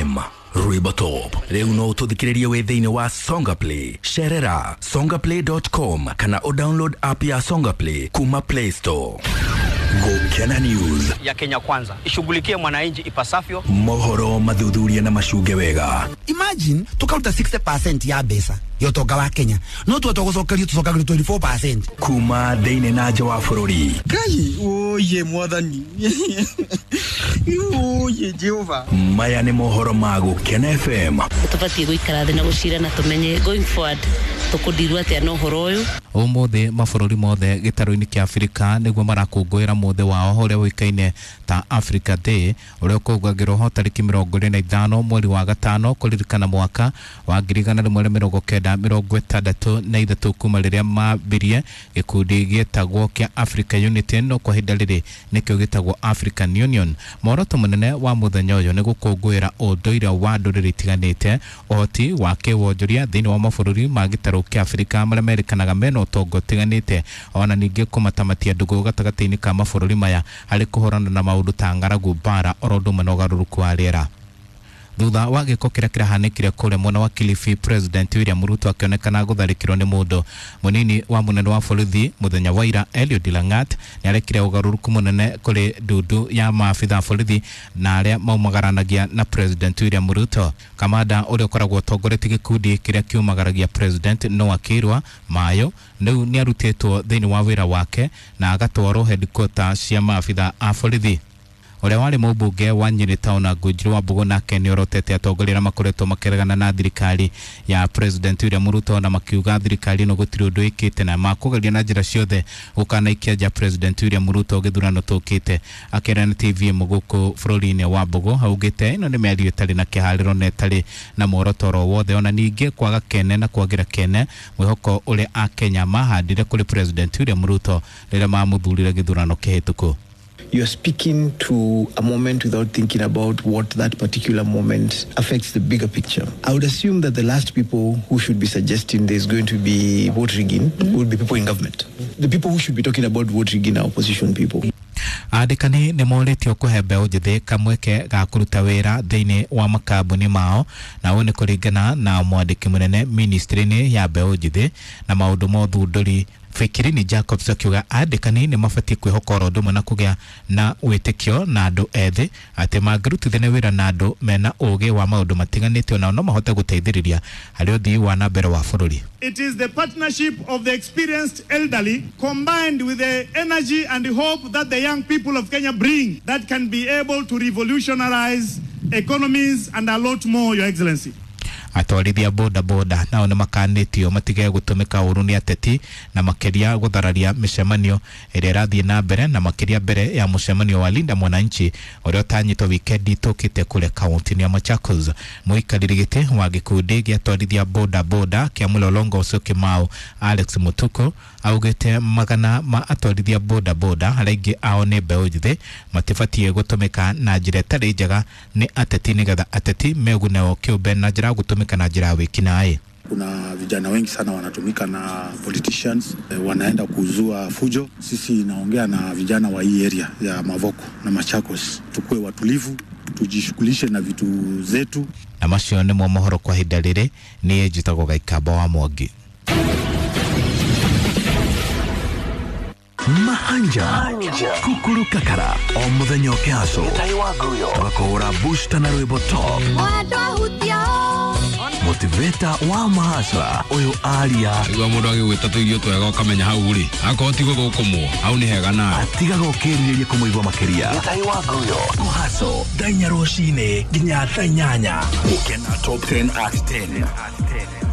FM Rwimbo Top. Rĩu no ũtũthikĩrĩrie wĩ thĩinĩ wa Songa Play. Cerera songaplay.com kana ũdownload app ya Songa Play kuma Play Store. Gũkena News ya Kenya Kwanza ishughulikie mwananchi ipasavyo. Mohoro mathuthuria na macunge wega. Imagine tukaruta 60% ya mbeca ya ũtonga wa Kenya, no twetwo gũcokerio tũcokagĩrio 24%. Kuma thĩinĩ na nja wa bũrũri. Ngai oye mwathani oye Jehova. Maya nĩ mohoro ma Gũkena FM. Tũbatiĩ gũikara thĩ na gũcira na tũmenye going forward tũkũndirwo atĩa na ũhoro ũyũ. Ũmũthĩ mabũrũri mothe gĩtarũ-inĩ kĩa Afrika nĩguo marakũngũĩra mũthĩ wao ũrĩa ũĩkaine ta Africa Day, ũrĩa ũkũngũagĩrwo ho tarĩki 25 mweri wa gatano kũririkana mwaka wa 1963 kuma rĩrĩa mambirie gĩkundi gĩtagwo kĩa Africa Unity, no kwa ihinda rĩrĩ nĩkĩo gĩtagwo African Union. Muoroto mũnene wa mũthenya ũyũ nĩ gũkũngũĩra ũndũire wa ndũrĩrĩ itiganĩte, ũhoti wa kĩwonjoria thĩinĩ wa mabũrũri ma gĩtarũ kĩa Afrika marĩa merĩkanaga mena ũtonga ũtiganĩte, ona ningĩ kũmatamatia ndũgũ gatagatĩ-inĩ ka mabũrũri maya harĩ kũhũrana na maũndũ ta ng'aragu, mbara, oro ũndũ ũmwe na ũgarũrũku wa rĩera. Thutha wa gĩko kĩrĩa kĩrahanĩkire kũrĩa mwena wa Kilifi, President William Ruto akĩonekana gũtharĩkĩrwo nĩ mũndũ mũnini wa mũnene wa borithi mũthenya wa ira, Eliud Langat nĩarekire ũgarũrũku mũnene kũrĩ ndundu ya maabitha borithi na arĩa maumagaranagia na President William Ruto. Kamanda ũrĩa ũkoragwo ũtongoretie gĩkundi kĩrĩa kiumagaragia President Noah Kĩrwa Mayo rĩu nĩarutĩtwo thĩinĩ wa wĩra wake na agatwarwo headquarter cia maabitha a borithi. Ũrĩa warĩ mũmbunge wa Nyĩrĩ Town Ngũnjiri wa Mbũgũ nake nĩorotete atongoria arĩa makoretwo makĩregana na thirikari ya President William Ruto na makiuga thirikari ĩno gũtirĩ ũndũ ĩkĩte na makũgeria na njĩra ciothe gũkanaikia nja President William Ruto gĩthurano tũkĩte. Akĩaria na TVM gũkũ bũrũri-inĩ wa Mbũgũ augĩte ĩno nĩ mĩario ĩtarĩ na kĩharĩro na ĩtarĩ na muoroto oro wothe, ona ningĩ kwaga kene na kwagĩra kene mwĩhoko ũrĩa Akenya mahandire kũrĩ President William Ruto rĩrĩa mamũthurire gĩthurano kĩhĩtũku. You're speaking to a moment without thinking about what that particular moment affects the bigger picture. I would assume that the last people who should be suggesting there's going to be vote rigging would be people in government. The people who should be talking about vote rigging are opposition people. Andĩkani nĩ morĩtio kũhe mbeũ njĩthĩ kamweke ga kũruta wĩra thĩinĩ wa makambuni mao, na ũũ nĩ kũringana na mwandĩki mũnene ministry-inĩ ya mbeũ njĩthĩ na maũndũ ma ũthundũri Fikirini Jacobs akiuga andĩkani nĩ mabatiĩ kwĩhoka oro ũndũ ũmwe na kũgĩa na wĩtĩkio na andũ ethĩ atĩ mangĩrutithania wĩra na andũ mena ũgĩ wa maũndũ matiganĩte onao no mahote gũteithĩrĩria harĩ ũthii wa na mbere wa bũrũri. It is the partnership of the experienced elderly combined with the energy and the hope that the young people of Kenya bring that can be able to revolutionize economies and a lot more, Your Excellency. Atwarithia boda boda nao nĩ makanĩtio matige gũtũmĩka ũru nĩ ateti na makĩria gũthararia mĩcemanio ĩrĩa ĩrathiĩ na mbere na makĩria mbere ya mũcemanio wa Linda Mwananchi ũrĩa ũtanyĩtwo wikendi tũkĩte kũrĩa kaunti-inĩ ya Machakos. Mũikarĩri gĩtĩ wa gĩkundi gĩa atwarithia boda boda kĩa Mlolongo Syokimau Alex Mutuku augĩte magana ma atwarithia boda boda arĩa aingĩ ao nĩ mbeũ njĩthĩ matibatiĩ gũtũmĩka na njĩra ĩtarĩ njega nĩ ateti nĩgetha ateti megune o kĩũmbe na njĩra ya gũtũmĩka na njĩra ya wĩkinaĩ. Kuna vijana wengi sana wanatumika na politicians, wanaenda kuzua fujo. Sisi naongea na vijana wa hii area ya Mavoko na Machakos, tukue watulivu, tujishughulishe na vitu zetu. Na macio nĩmo mohoro kwa ihinda rĩrĩ. Niĩ njĩtagwo Gaikamba wa Mwangi. Mahanja Kukuru Kakara o muthenya ũkĩhaco tũgakũhũra booster na rwĩmbo top motivator wa mahasra ũyũ aria igua mũndũ agĩgwĩta tũirio twega ũkamenya hau rĩ akorwo ti gũthũkũmwo hau nĩ hega nawe atigaga ũkĩrirĩria kũmũigua makĩria. Kũhaco thaa inya rũcinĩ nginya thaa inyanya. Gũkena Top 10 at 10.